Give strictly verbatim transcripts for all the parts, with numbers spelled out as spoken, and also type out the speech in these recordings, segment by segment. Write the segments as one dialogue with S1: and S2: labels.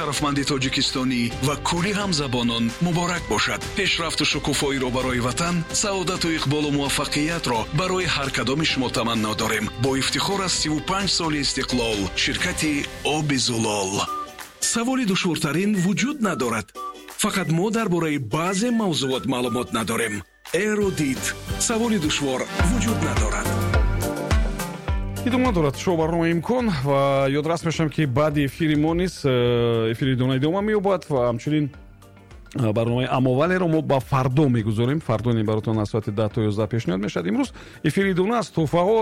S1: Шарафманди тоҷикистонӣ ва кулли ҳамзабонон муборак бошад. Пешрафту шукуфоиро барои ватан, саодату иқболу муваффақиятро барои ҳар кадоми шумо таманно дорем. Бо ифтихор аз сиву панҷ соли истиқлол, ширкати Оби Зулол. Саволи душвортарин вуҷуд надорад. Фақат мо дар бораи баъзе мавзуот маълумот надорем. Эрудит. Саволи душвор вуҷуд надорад.
S2: Идома дорад шоу барномаи «Имкон» ва ёдрас мешавам, ки баъди эфири мо низ э, эфири идона идома меёбад ва ҳамчунин э, барномаи «Амовалеро» мо ба фардо мегузорем. Фардо ин баротон аз соати даҳ то ёздаҳ пешниҳод мешавад. Имрӯз эфири идона аз тӯҳфаҳо,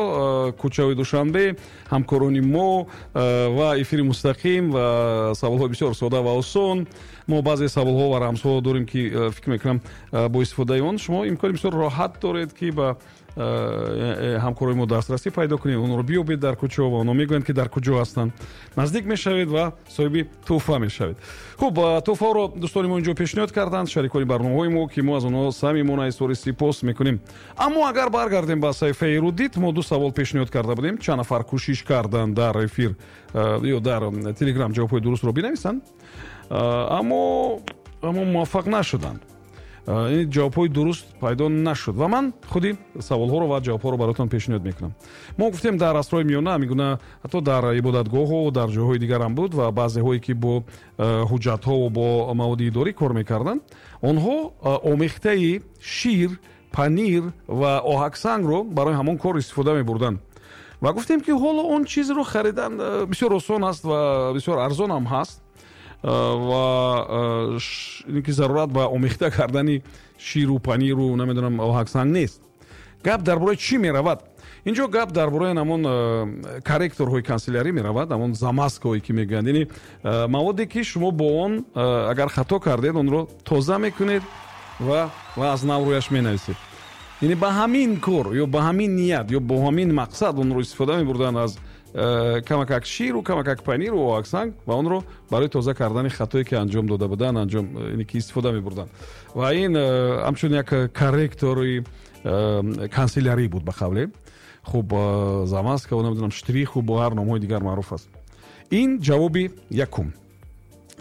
S2: э, кӯчаҳои Душанбе, ҳамкорони мо ва эфири мустақим ва саволҳои бисёр сода ва осон. Мо баъзе саволҳо ва рамзҳо дорем, ки фикр мекунам, бо истифодаи он шумо имкони бисёр роҳат доред, ки ба ҳамкорои мо дастрасӣ пайдо кунед, онро биёбед дар кӯчаҳо ва онҳо мегӯянд, ки дар куҷо ҳастанд. Наздик мешавед ва соҳиби тӯҳфа мешавед. Хуб, тӯҳфаҳоро дӯстони мо инҷо пешниҳод карданд, шарикони барномаҳои мо, ки мо аз онҳо самимона изҳори сипос мекунем. Аммо агар баргардем ба саҳифаи Эрудит, мо ду савол пешниҳод карда будем. Чанд нафар кӯшиш карданд дар эфир ё дар Телеграм ҷавобҳои дурустро бинависанд, аммо аммо муваффақ нашуданд, ин ҷавобҳои дуруст пайдо нашуд ва ман худи саволҳоро ва ҷавобҳоро бароятон пешниҳод мекунам. Мо гуфтем, дар асрҳои миёна ҳамин ҳатто дар ибодатгоҳҳо, дар ҷойҳои дигарам буд ва баъзеҳое, ки бо ҳуҷҷатҳо ва бо маводи идорӣ кор мекарданд, онҳо омехтаи шир, панир ва оҳаксангро барои ҳамон кор истифода мебурданд. Ва гуфтем, ки ҳоло он чизро харидан бисёр осон аст ва бисёр арзон ҳам ҳаст ва ин ки зарурат ба омехта кардани ширу паниру, намедонам, оҳаксанг нест. Гап дар бораи чӣ меравад инҷо? Гап дар бораи ҳамон корректорҳои канселярӣ меравад, ҳамон замазкаҳое, ки мегӯянд, яъне маводе, ки шумо бо он агар хато кардед, онро тоза мекунед ва ва аз нав рӯяш менависед. Яъне ба ҳамин кор ё ба ҳамин ният ё бо ҳамин мақсад онро истифода мебурданд, аз камакак ширу камакак паниру оҳаксанг, ва онро барои тоза кардани хатое, ки анҷом дода буданд, анҷом яъне ки истифода мебурданд. Ва ин ҳамчун як корректори канселярӣ буд, ба қавле. Хуб, замазка, намедонам, штриху, бо ҳар номҳои дигар маъруф аст. Ин ҷавоби якум.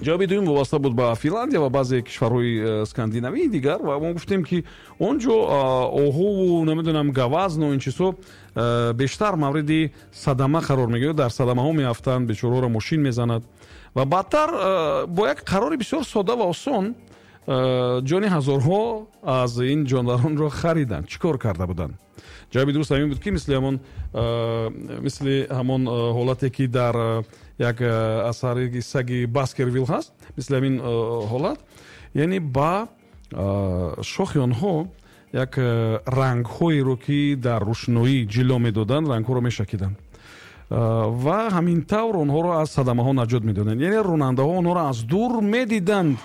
S2: Ҷавоби дуюм вобаста буд ба Финландия ва баъзе кишварҳои скандинавии дигар ва мо гуфтем, ки он ҷо оҳуву, намедонам, гавазну ин чизҳо бештар мавриди садама қарор мегирад, дар садамаҳо меафтанд, бечораҳоро мошин мезанад ва баъдтар бо як қарори бисёр сода ва осон ҷони ҳазорҳо аз ин ҷонваронро хариданд. Чӣ кор карда буданд? Ҷавоби дуруст ҳамин буд, ки мисли ҳамон мисли ҳамон ҳолате, ки дар як асари саги Баскервилл ҳаст, мисли ҳамин ҳолат, яъне ба шохи онҳо як рангҳоеро, ки дар рӯшноӣ ҷило медоданд, рангҳоро мешакиданд ва ҳамин тавр онҳоро аз садамаҳо наҷот медоданд. Яъне ронандаҳо онҳоро аз дур медиданд.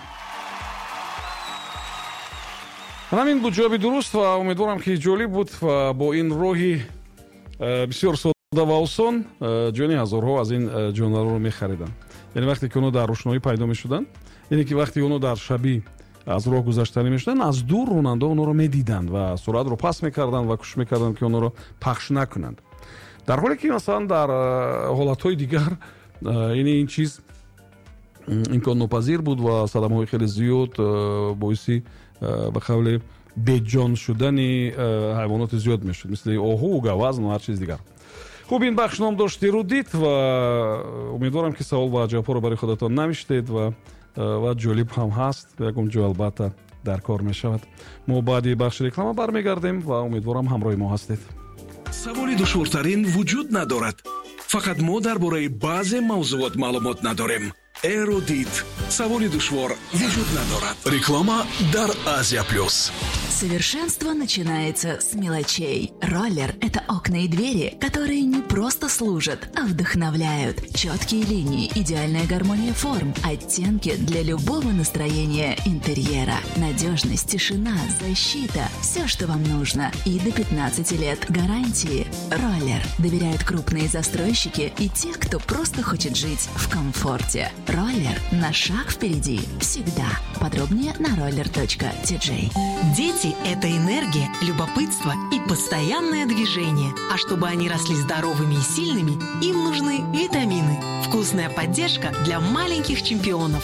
S2: Ҳамин буд ҷавоби дуруст ва умедворам, ки ҷолиб буд ва бо ин роҳи бисёр сода ва осон ҷони ҳазорҳо аз ин ҷонварро мехариданд. Яъне вақте ки онҳо дар рӯшноӣ пайдо мешуданд, яъне ки вақте онҳо дар шабӣ аз роҳ гузаштанӣ мешуданд, аз дур ронандаҳо онҳоро медиданд ва суръатро паст мекарданд ва кӯшиш мекарданд, ки онҳоро пахш накунанд. Дар ҳоле ки масалан дар ҳолатҳои дигар яъне ин чиз имконнопазир буд ва садамаҳои хеле зиёд боиси, ба қавле, беҷон шудани ҳайвоноти зиёд мешуд, мисли оҳу, гавазн ва ҳар чиз дигар. Хуб, ин бахш ном дошт «Эрудит» ва умедворам, ки савол ва ҷавобҳоро барои худатон навиштед ва ва ҷолиб ҳам ҳаст, ягон ҷо албатта дар кор мешавад. Мо баъди бахши реклама бармегардем ва умедворам, ҳамроҳи мо ҳастед.
S1: Саволи душвортарин вуҷуд надорад. Фақат мо дар бораи баъзе мавзуот маълумот надорем. Эрудит. Саволи душвор вуҷуд надорад. Реклама дар Азия Плюс.
S3: Совершенство начинается с мелочей. Роллер – это окна и двери, которые не просто служат, а вдохновляют. Четкие линии, идеальная гармония форм, оттенки для любого настроения интерьера. Надежность, тишина, защита – все, что вам нужно. И до пятнадцати лет гарантии. Роллер доверяют крупные застройщики и те, кто просто хочет жить в комфорте. Роллер на шаг впереди всегда. Подробнее на roller.tj.
S4: Дети – это энергия, любопытство и постоянное движение. А чтобы они росли здоровыми и сильными, им нужны витамины. Вкусная поддержка для маленьких чемпионов.